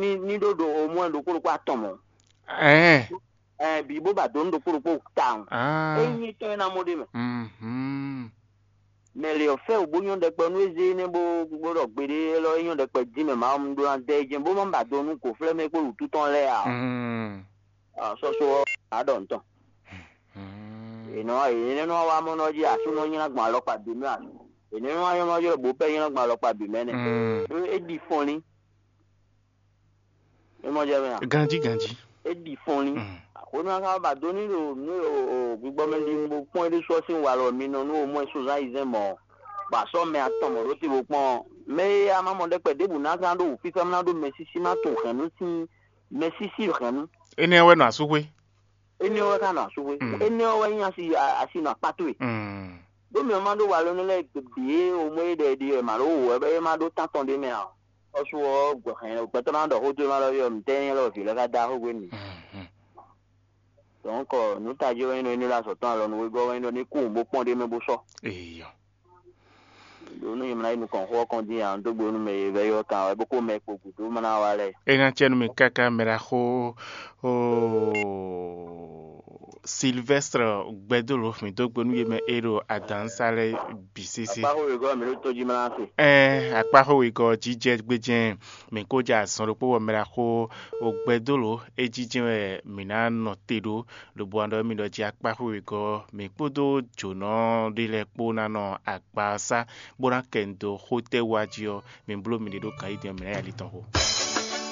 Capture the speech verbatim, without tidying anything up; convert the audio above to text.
ní ní ɖó ɖo omwɛ ɖokpó ɖokpó atɔn mɔ̌. Ɛɛ. Ɛɛ, bǐ bó ba dó nú ɖokpó ɖokpó tawun. Ah. Ényí tɔn é ná mɔ ɖé mɛ. Mhm. Mɛ lě ɔ́ fɛ wǔ bó nyɔ́ ɖɛkpɛ nú ézé énɛ́ bó bó ɖɔ gbeɖé élɔ́ é nyɔ́ ɖɛkpɛ dín mɛ Mawu nu ɖó ná dɛ é jɛ́n bó má ba do nú gǒflɛ́mɛ kpó wǔtú tɔn lɛ́ɛ ǎ. Mm. Sɔ́só ɔ́, á ɖɔ nǔ tɔn. Mm. È nɔ è nɔ wá mɔ nɔ jí asú nɔ nylá gbɔn alɔkpa bǐ mɛ a? È nɔ wá nyɔ́ nɔ jí bó pɛ́ nylá gbɔn alɔkpa bǐ mɛ nɛ́. Mm. É ɖi fɔnlín. É mɔ jɛ mɛ a? Ganjí ganjí. É ɖi fɔnlín. Mm. Àkónú aka ba dó ní ɖo nú o gbigbɔ mɛ ɖi mo kpɔ́n é ɖésú ɔ́ sín walɔ mi nɔ nú o mɔ ɛ sozán yi zɛn mɔ bɔ asɔ mɛ atɔn mɔ ɖó te bo kpɔ́n mɛ e a ma mɔ ɖɛkpɛ ɖěbǔ ná gán ɖo wǔfífá ná ɖó mɛ sísí má tun hɛ̌nnu sín mɛ sísí hɛ̌nnu. Énɛ́ wɛ nɔ asúxwé. Énɛ́ wɛ ká nɔ asúxwé. Mm. Énɛ́ wɛ nyí asi asi nɔ akpá towe. Mm. Ɖó mɛ ma ɖó walɔ nú lɛ́ɛ bǐ o mɔ é ɖɛ ɖi wɛ ma ɖó wò wɛ bɛ é ma ɖó tán tɔn ɖé mɛ a? Ɔ́ sú ɔ́, hɛn gbɛtɔ́ ná ɖɔ xó dó ná ɖɔ yɔ nǔtɛ́ nyɛ lɔ vǐ lɛ́ɛ ka dá xó gbé n'i. Mhm. Donc nǔ tají wɛ nyí ɖɔ ní ɖo azɔ̌ tɔn alɔ nú wegɔ́ wɛ nyí ɖɔ ní kú bó kpɔ́n ɖé mɛ bó sɔ́. Eyɔ. Ɖo nú nyɛ mlá yi nukɔn xó ɔ́ kɔn dín ǎ, dó gbe nú mɛ e vɛ́ yɔ kan wɛ bó kó mɛ kpo gǔdo má ná wá lɛ́ɛ. É ná cɛ nú mi káká mɛ ɖaxó. Oo. Sylvestre Gbɛdólo, mǐ dó gbe nú yě mɛ e ɖo adǎnsá lɛ́ɛ bǐ sésé. Akpáxó wegɔ́ mi ɖó tójí mlá se. Ɛɛ, akpáxó wegɔ́ jijɛ gbéjɛ́n, mǐ kó jɛ azɔn ɖokpó bɔ mɛ ɖaxó Gbɛdólo é jijɛ wɛ mǐ ná nɔ te ɖó, lobo wan ɖɔ émí ɖɔ jí akpáxó wegɔ́ mǐ kpódó jǒnɔ ɖé lɛ́ɛ kpó ná nɔ akpasá bó ná kɛ nu dó xó tɛ́ wá jí ɔ́, mi bló miɖée ɖó kan yí din ɔ́, mǐ ná yi ali tɔn xo.